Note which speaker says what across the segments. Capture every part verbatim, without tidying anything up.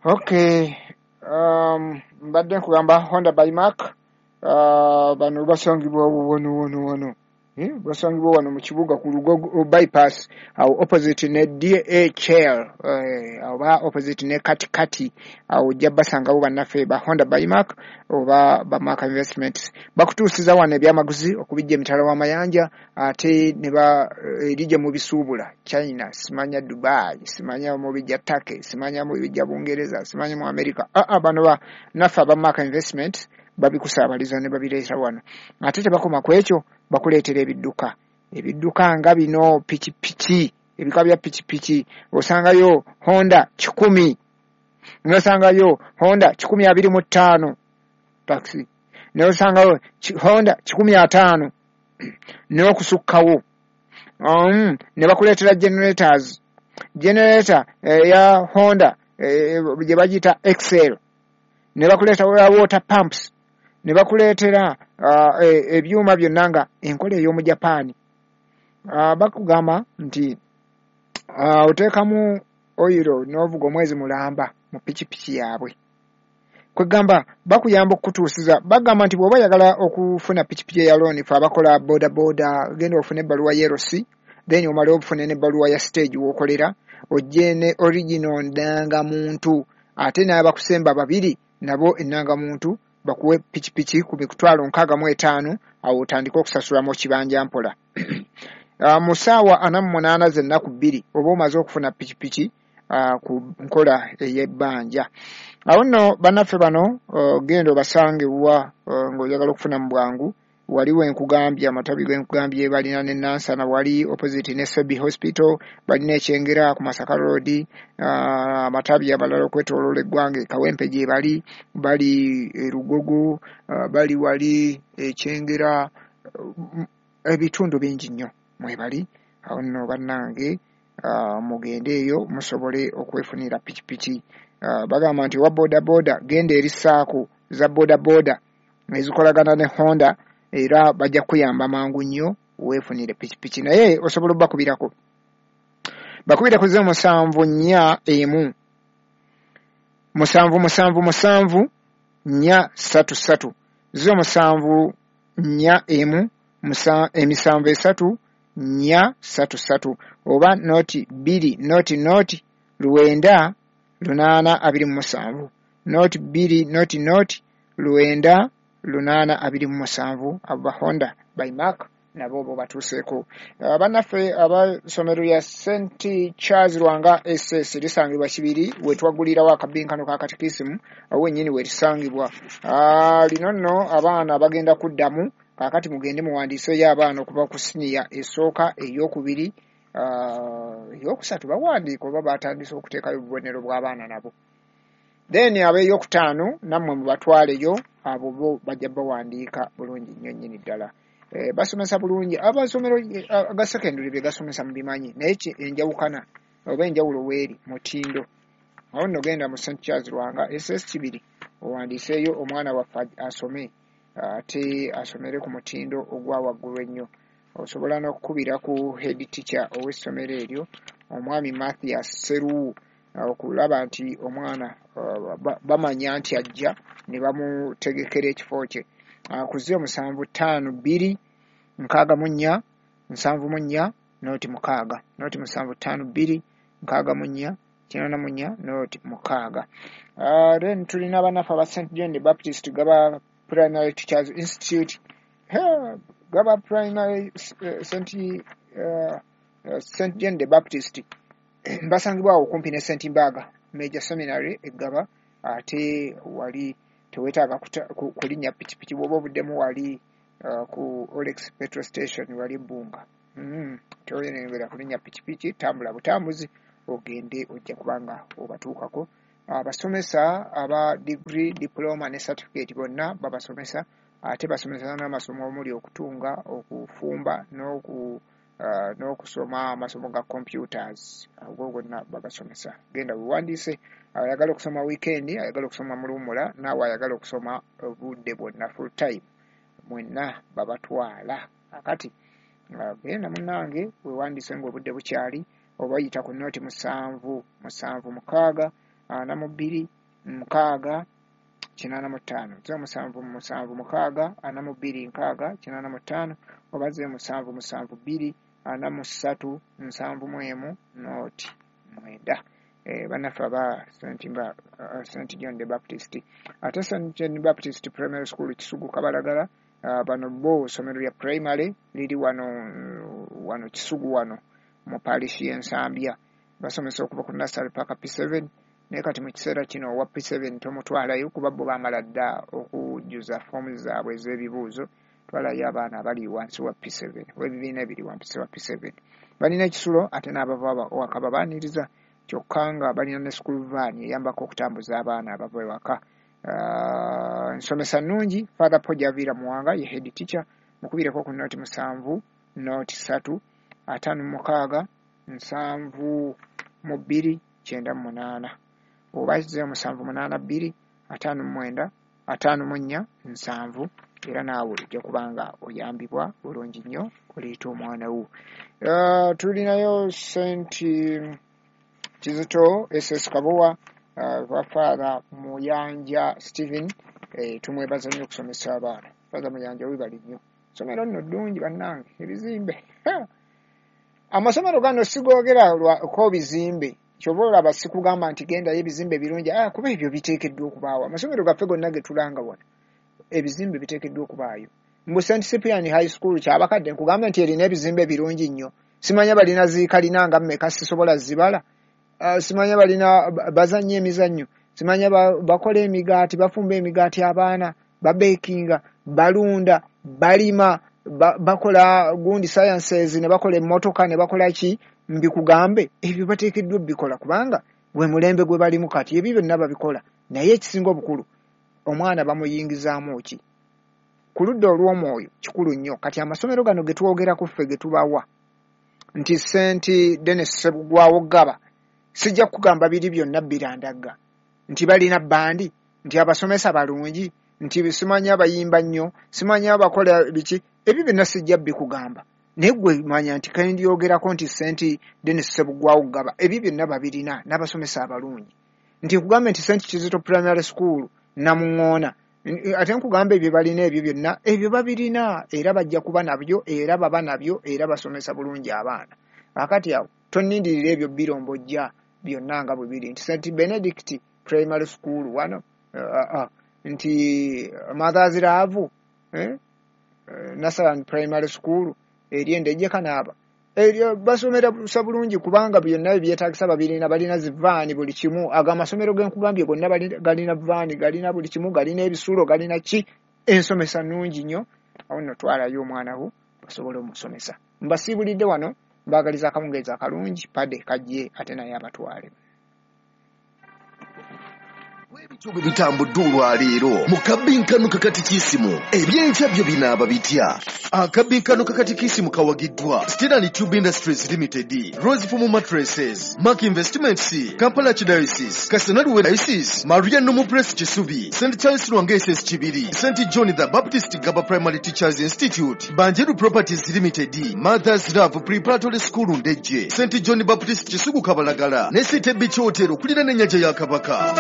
Speaker 1: Okay, um, mbadde nkugamba Honda by Mark. uh, bano basangibwa wano wano wano, eh, basangibwa wano mu kibuga ku Lugogo bypass awo opposite ne D H L, eh, oba opposite ne Katikati awo, ojja basangawo bannaffe ba Honda by Mark oba ba Mark Investments. Bakutuusiza wano ebyamaguzi okubijja emitala w'amayanja, ate ne ba eri gye mubisuubula, China, simanya Dubai, simanya mubijja Turkey, simanya mubijja Bungereza, simanya mu America. Aa, bano ba naffe aba Mark Investment babikusaabaliza ne babireeta wano. Ate tebakoma ku ekyo, bakuleetera ebidduka, ebidduka nga bino pikipiki, ebika bya pikipiki. Osangayo Honda kikumi, nosangayo Honda kikumi abiri mu ttaano taxi, nosangayo Honda kikumi ataano n'okusukkawo. um, ne bakuleetera generators, generator eya Honda eh, gye bagiyita Excel, ne bakuleetera water pumps, ne bakuleetera uh, ebyuma byonna nga enkola ey'omu Japaani. uh, bakugamba nti uh, oteekamu oyiro n'ovuga omwezi mulamba mu pikipiki yaabwe. Kwegamba bakuyamba okukutuusiza. Bagamba nti bw'oba oyagala okufuna pikipiki eya loan, fe abakola boda boda, genda ofune ebbaluwa ya L C, then omale ofune n'ebbaluwa ya stage w'okolera, ojje ne original ndangamuntu, ate n'abakusemba babiri nabo ennangamuntu, bakuwe pikipiki ku mitwalo nkaaga mu etaano. Awo otandike okusasulamu kibanja mpola. uh, mu ssaawa ana mu munaana z'ennaku bbiri oba omaze okufuna pikipiki uh, ku nkola ey'ebbanja. Awo nno bannaffe bano uh, genda obasange wa uh, ng'oyagala okufuna mu bwangu. Wali wenkugambye amatabi genkugambye, balina ne Nansana wali opposite ne Sebi Hospital, balina Ekyengera ku Masaka Road, uh, amatabi abalala okwetoloola eggwanga, Kawempe gye bali, bali e Lugogo, uh, bali wali Ekyengera, uh, ebitundu bingi nnyo mwebali. Awo nno bannange, uh, mugende eyo musobole okwefunira pikipiki. uh, bagamba nti owa boda boda, genda eri SACCO za boda boda ezikolagana ne Honda, era bajja kuyamba mangu nnyo weefunire pikipiki. Naye osobola obbakubirako, bakubire ku zero musanvu nnya emu musanvu musanvu musanvu nnya ssatu ssatu, zero musanvu nnya emu emisanvu esatu nnya ssatu ssatu, oba noti bbiri noti noti lwenda lunaana abiri mu musanvu, noti bbiri noti noti lwenda lunaana abiri mu musanvu. Abo ba Honda by Mark nabo bo batuuseeko. Bannaffe abasomero lya Saint Charles Lwanga S S lisangibwa Kibiri, wetwagulirawo akabinkano ka katikisimu, awo wennyini werisangibwa. Lino nno abaana bagenda kuddamu kaakati, mugende muwandiiseeyo abaana okuva ku siniya esooka, eyokubiri, eyokusatu bawandiika oba batandise okuteekayo obubonero bw'abaana nabo. Then ab'eyokutaano nammwe mubatwaleyo, abo bo bajja bawandiika bulungi nnyo nnyini ddala. E, basomesa bulungi. Amasomero aga secondary bye gasomesa mubimanyi, naye enjawukana oba enjawulo weeri mutindo. Awo nno genda mu Saint Charles Lwanga S S Kibiri owandiiseeyo omwana waffe asome, ate asomere ku mutindo ogwa waggulu ennyo. Osobola n'okukubira ku head teacher ow'essomero eryo, omwami Mathias Seruwu, okulaba nti omwana bamanya nti ajja ne bamutegekera ekifo kye ku zero musanvu ttaano bbiri nkaaga mu nnya nsanvu mu nnya noti mukaaga, noti musanvu ttaano bbiri nkaaga mu nnya kinaana mu nnya noti mukaaga. Then tulina bannaffe aba Saint John the Baptist Gaba Primary Teachers Institute, Gaba Primary, Saint uh, Saint John the Baptist, basangibwa awo okumpi ne Saint Mbaga Major Seminary Eggaba. Ate wali teweetaaga kulinnya pikipiki bw'oba obuddemu wali uh, ku Olex petrol station wali Bbunga. mm, toyongera kulinnya pikipiki, tambula butambuzi ogende, ojja kubanga obatuukako. Abasomesa aba degree, diploma ne certificate bonna babasomesa, ate basomesa n'amasomo omuli okutunga, okufumba n'oku uh, n'okusoma amasomo ga computers, ago gonna babasomesa. Genda wewandiise, ayagala okusoma weekend, ayagala okusoma mu luwummula, naawe ayagala okusoma obudde bwonna full time, mwenna babatwala. Akati genda munnange wewandiise ng'obudde bukyali, oba yita ku noti musanvu musanvu mukaaga ana mu bbiri nkaaga kinaana mu ttaano zero musanvu musanvu mukaaga ana mu bbiri nkaaga kinaana mu ttaano oba zero musanvu musanvu bbiri ana mu ssatu nsanvu mu emu nooti mwenda. Eh, bannaffe aba Saint John the Baptist. Ate Saint John the Baptist Primary School Kisugu Kabalagala, uh, bano bo ssomero lya primary liri wano wano Kisugu wano mu parish y'Ensambya. Basomesa okuva ku nursery paka P seven, naye kati mu kiseera kino owa P seven tomutwalayo kuba bo baamala dda okujjuza foomu zaabwe ez'ebibuuzo. Twalayo abaana abali wansi wa P seven oba ebibiina ebiri wansi wa P seven. Balina ekisulo ate n'abava waka babaaniriza, kyokka nga balina ne school van eyambako okutambuza abaana abava ewaka. Uh, nsomesa nnungi. Father Paul Javiira Muwanga ye head teacher. Mukubireko ku nooti musanvu nooti ssatu ataano mu mukaaga nsanvu mu bbiri kyenda mu munaana oba zero musanvu munaana bbiri ataano mu mwenda ataano mu nnya nsanvu, era naawe ojja kubanga oyambibwa bulungi nnyo oleeta omwana wo. Uh, tulinayo Saint Kizito S S Kabowa, uh, Father Muyanja Stephen, eh, tumwebaza nnyo okusomesa abaana. Father Muyanja webale nnyo. Ssomero nno ddungi bannange, ebizimbe. Amasomero gano sigoogera ko bizimbe, ky'oba olaba sikugamba nti gendayo ebizimbe birungi, ah, kuba ebyo biteekeddwa okubaawo. Amasomero gaffe gonna ge tulanga wano ebizimbe biteekeddwa okubaayo. Mu Saint Cyprian High School kyabakadde nkugamba nti erina ebizimbe birungi nnyo. Simanya balina zikalina nga mmeka sisobola zibala. Uh, simanya balina bazannya emizannyo, simanya ba, bakola emigaati, bafumba emigaati abaana, babekinga, balunda, balima, ba, bakola gundi sciences ne bakola emmotoka ne bakola ki, mbikugambe ebyo bateekeddwa bikola kubanga gwe mulembe gwe balimu kati ebyo byonna babikola. Naye ekisinga obukulu omwana bamuyingizaamu ki ku ludda olw'omwoyo kikulu nnyo. Kati amasomero gano ge twogerako ffe ge tubawa nti Saint Denis Ssebugwawo Gaba, sijja kugamba biri byonna birandagga nti balina bandi, nti abasomesa balungi, nti simanya abayimba nnyo, simanya abakola biki, ebyo byonna sijja bikugamba. Naye gwe manya nti kendyogerako nti Saint Denis Ssebugwawo Gaba ebyo byonna babirina n'abasomesa abalungi. Nti nkugambe nti Saint Kizito Primary School Namuŋŋoona, ate nkugamba ebyo balina ebyo byonna ebyo babirina era bajja kuba nabyo era baba nabyo era basomesa bulungi abaana. Akati awo tonnindirira ebyo birombojja byonna nga bwe biri nti Saint Benedict Primary School wano, uh, uh, nti Mothers Love eh? uh, Nasaran Primary School eri Endejje Kanaaba, eryo basomera busa bulungi kubanga byonna ebyetaagisa babirina, balina zivaani buli kimu. Ago amasomero ge nkugambye gonna galina vaani, galina buli kimu, galina ebisulo, galina ki, ensomesa nnungi nnyo. Awo nno twalayo omwana wo basobole omusomesa. Mbasiibulidde wano, mbaagaliza akawungeezi akalungi, pade kajje ate naye abatwale.
Speaker 2: Ebityo bwe bitambudde olwaleero mu kabbinkano kakatikisimu, ebyenkya byo binaaba bitya? Akabbinkano kakatikisimu kawagiddwa Steel Tube Industries Limited, Rose Foam Mattresses, Mark Investments, Kampala Archdiocese, Kasanalwe Diocese, Maria Nomo Press Kisubi, Saint Charles Lwanga S S Kibiri, Saint John the Baptist Gaba Primary Teachers Institute, Banjeru Properties Limited, Mothers Love Preparatory School Ndejje, Saint John Baptist Kisugu Kabalagala, ne City Beach Hotel okuliraana ennyanja ya Kabaka.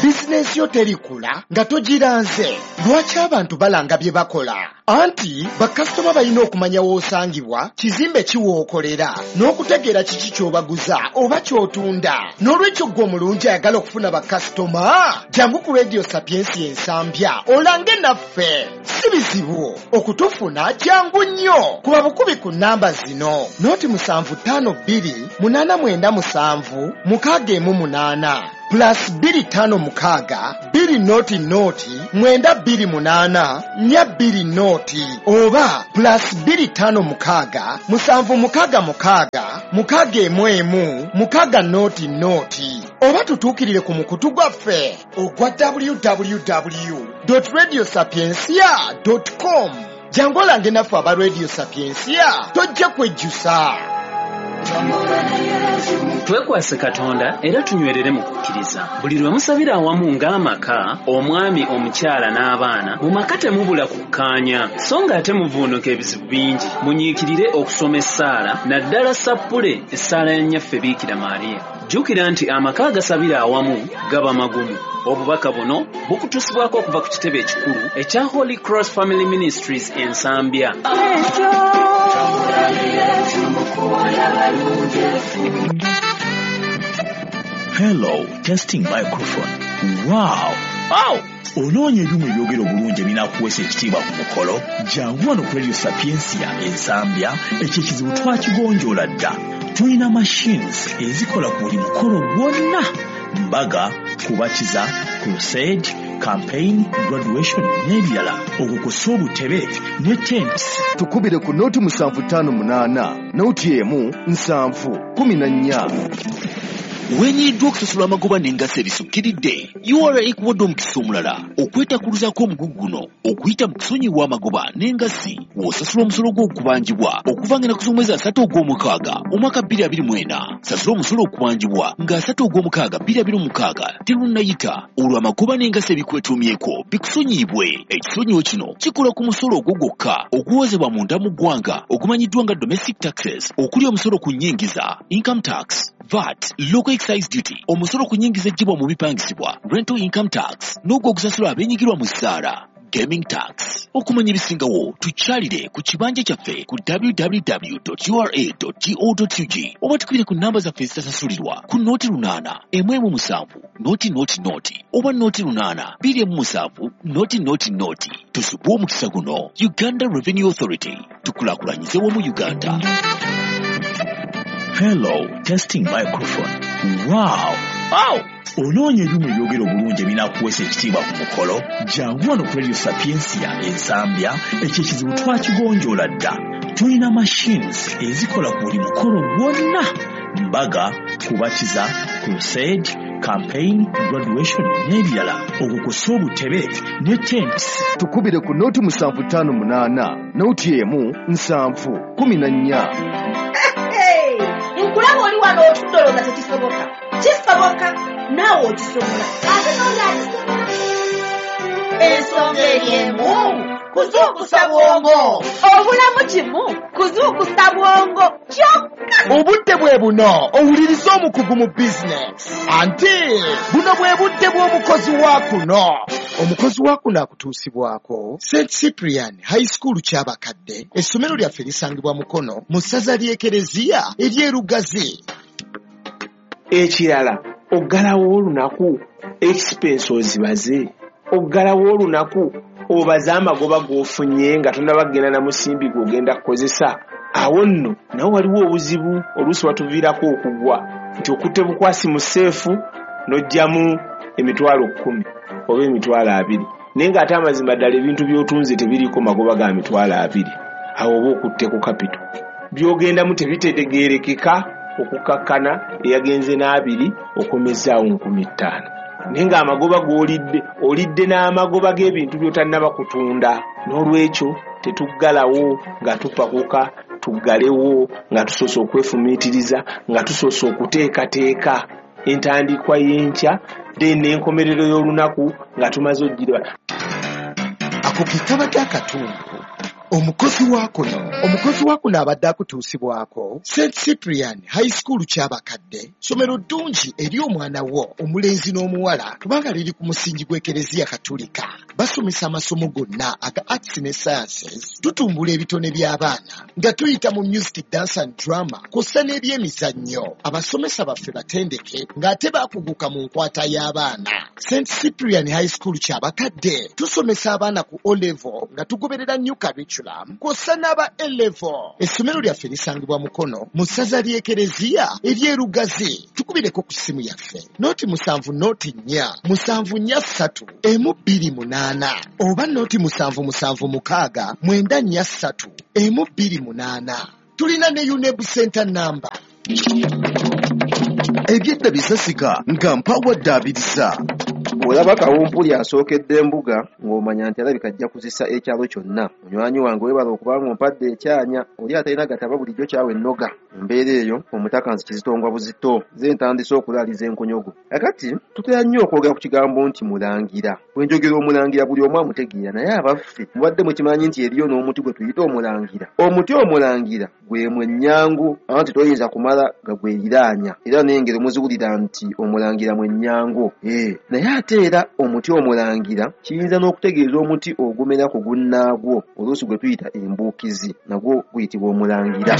Speaker 3: Bizinensi yo terikula nga togiranze. Lwaki abantu balanga bye bakola? Anti bakasitoma balina okumanya w'osangibwa, kizimbe ki w'okolera, n'okutegeera kiki ky'obaguza oba ky'otunda. N'olwekyo ggwe omulungi ayagala okufuna bakasitoma, jangu ku Radio Sapiensia Ensambya olange naffe. Si bizibu okutufuna, jangu nnyo. Kuba bukubi ku nnamba zino: nooti musanvu ttaano bbiri munaana mwenda musanvu mukaaga emu munaana plus bbiri ttaano mukaaga bbiri nooti nooti mwenda bbiri munaana nnya bbiri nooti oba plus bbiri ttaano mukaaga musanvu mukaaga mukaaga mukaaga emu emu mukaaga nooti nooti oba tutuukirire ku mukutu gwaffe ogwa w w w dot radio sapiensia dot com. Jangu olange naffe aba Radio Sapiensia, tojja kwejjusa.
Speaker 4: Twekwase Katonda era tunywerere mu kukkiriza. Buli lwe musabira awamu ng'amaka, omwami, omukyala n'abaana, mu maka temubula kukkaanya, so ng'ate muvuunuka ebizibu bingi. Munyiikirire okusoma essaala, naddala sappule essaala ya Nnyaffe Biikira Maria. Jjukira nti amaka agasabira awamu gaba magumu. Obubaka buno bukutuusibwako okuva ku kitebe ekikulu ekya Holy Cross Family Ministries e Nsambya.
Speaker 5: Hello, testing microphone. Wow! Wow! Onoonya ebyuma ebyogera obulungi ebinaakuweesa ekitiibwa ku mukolo? Jangu wano ku Radio Sapientia e Nsambya, ekyo ekizibu twakigonjoola dda. Tulina machines ezikola ku buli mukolo gwonna. Mbaga, kubatiza, crusade, campaign, graduation n'ebirala. Okwo kw'ossa obutebe ne tents.
Speaker 2: Tukubire ku noti musanvu ttaano munaana, noti emu nsanvu kumi na nnya.
Speaker 6: Wenyiddwa okusasula amagoba n'engassi ebisukkiridde, U R A ekuwadde omukisa omulala okwetakuluzaako omugugu guno okuyita mu kusonyiwa amagoba n'engassi w'osasula omusolo gw'okubanjibwa okuva ng'ennaku z'omwezi asatu ogw'omukaaga omwaka bbiri abiri mu ena. Sasula omusolo okubanjibwa nga asatu ogw'omukaaga bbiri abiri mu mukaaga terunnayita, olwo amagoba n'engassi ebikwetuumyeko bikusonyiyibwe. Ekisonyiwo kino kikola ku musolo ogwo gwokka oguwozebwa munda mu ggwanga ogumanyiddwa nga domestic taxes, okuli omusolo ku nnyingiza, income tax, V A T, local excise duty, omusolo ku nnyingiza eggyibwa mu bipangisibwa, rental income tax, n'ogwo ogusasulwa abeenyigirwa mu ssaala, gaming tax. Okumanya ebisingawo tukyalire ku kibanja kyaffe ku w w w dot u r a dot go dot u g oba tukubire ku namba zaffe ezitasasulirwa ku noti lunaana emu emu musanvu noti noti noti oba noti lunaana bbiri emu musanvu noti noti noti. Tusubwe omukisa guno. Uganda Revenue Authority, tukulaakulanyize wamu Uganda.
Speaker 5: Hello, testing microphone. Wow! Wow! Onoonya ebyuma ebyogera obulungi ebinaakuweesa ekitiibwa ku mukolo? Jangu wano ku Radio Sapientia e Nsambya, ekyo ekizibu twakigonjoola dda. Tulina machines ezikola ku buli mukolo gwonna. Mbaga, kubatiza, crusade, campaign, graduation n'ebirala. Okwo kw'ossa obutebe ne tents.
Speaker 2: Tukubire ku noti musanvu ttaano munaana, noti emu nsanvu kumi na nnya.
Speaker 7: Nkulaba oli wano otudde olowooza tekisoboka. Kisoboka, naawe okisobola. Ate n'oli akisobola. Ensonga eri emu, kuzuukusa bwongo. Obulamu kimu, kuzuukusa bwongo kyokka.
Speaker 3: Obudde bwe buno owuliriza omukugu mu bizinesi. Anti buno bwe budde bw'omukozi wa kuno. Omukozi wa kuno akutuusibwako Saint Cyprian High School Kyabakadde. Essomero lyaffe lisangibwa Mukono mu ssaza ly'Ekereziya ery'e Lugazi.
Speaker 8: Ekirala, oggalawo olunaku expense ozibaze. Oggalawo olunaku obaze amagoba g'ofunye nga tonnaba kugenda na musimbi gw'ogenda kukozesa. Awo nno nawo waliwo obuzibu oluusi watuviirako okugwa nti okutte bukwasi mu seefu n'oggyamu emitwalo kkumi oba emitwalo abiri, naye ng'ate amazima ddala ebintu by'otunze tebiriiko magoba ga mitwalo abiri. Awo oba okutte ku kapito by'ogendamu tebitegeerekeka, okukakkana eyagenze n'abiri okomezaawo nkumi ttaano, naye ng'amagoba g'olidde olidde n'amagoba g'ebintu by'otannaba kutunda. N'olwekyo tetuggalawo nga tupakuka, tuggalewo nga tusoose okwefumiitiriza, nga tusoose okuteekateeka entandikwa y'enkya then n'enkomerero y'olunaku nga tumaze okugiraba.
Speaker 3: Ako ke kabadde akatundu. Omukozi wa kuno omukozi wa kuno abadde akutuusibwako Saint Cyprian High School Kyabakadde. Ssomero ddungi eri omwana wo omulenzi n'omuwala kubanga liri ku musingi gw'Ekereziya Katolika. Basomesa amasomo gonna aga arts ne sciences. Tutumbula ebitone by'abaana nga tuyita mu music, dance and drama kw'ossa n'ebyemizannyo. Abasomesa baffe batendeke ng'ate baakuguka mu nkwata y'abaana. Saint Cyprian High School Kyabakadde tusomesa abaana ku O level nga tugoberera new curriculum kw'ossa n'aba A level. Essomero lyaffe lisangibwa Mukono mu ssaza ly'Ekereziya ery'e Lugazi. Tukubireko ku ssimu yaffe noti musanvu noti nnya musanvu nnya ssatu emu bbiri munaana oba noti musanvu musanvu mukaaga mwenda nnya ssatu emu bbiri munaana. Tulina ne UNEB Center number.
Speaker 2: Ebyedda bisasika nga mpawadde abirisa.
Speaker 9: Olaba kawumpuli asookedde embuga ng'omanya nti alabika ajja kuzisa ekyalo kyonna. Munywanyi wange weebala okubanga ompadde ekyanya, oli atalina gataba bulijjo kyawe ennoga. Mu mbeera eyo omutaka nzi kizitongwa buzito, nze ntandise okulaaliza enkonyogo. Kakati tutera nnyo okwogera ku kigambo nti mulangira. Bwe njogera omulangira buli omu amutegeera, naye abaffe mubadde mukimanyi nti eriyo n'omuti gwe tuyita omulangira. Omuti omulangira gwe mwennyango, anti toyinza kumala gagweriraanya, era n'engero muziwulira nti omulangira mwennyango. Eh, naye ate era omuti omulangira kiyinza n'okutegeeza omuti ogumera ku gunnaagwo, oluusi gwe tuyita embuukizi, nagwo guyitibwa omulangira.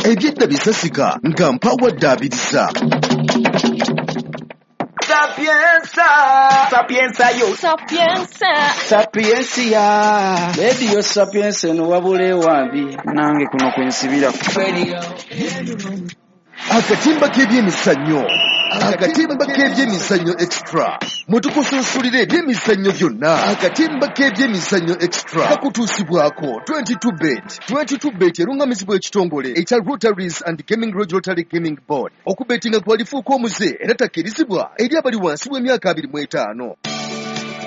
Speaker 2: Ebyedda bisasika nga mpawadde abiriza.
Speaker 10: Sapienza, sapienza yo,
Speaker 11: Sapienza.
Speaker 10: Sapiencia.
Speaker 12: Rediyo Sapienza eno wabula ewambi nange kuno kwensibira.
Speaker 10: Radio.
Speaker 2: Akatimba k'ebyemizannyo, Akatimba k'ebyemizannyo Extra, mwe tukusunsulira ebyemizannyo byonna. Akatimba k'ebyemizannyo Extra kakutuusibwako twenty-two Bet. twenty-two Bet erungamizibwa ekitongole ekya Lotteries and Gaming Regulatory Gaming Board. Okubetinga kwalifuuka omuze era takkirizibwa eri abali wansi w'emyaka abiri mu etaano.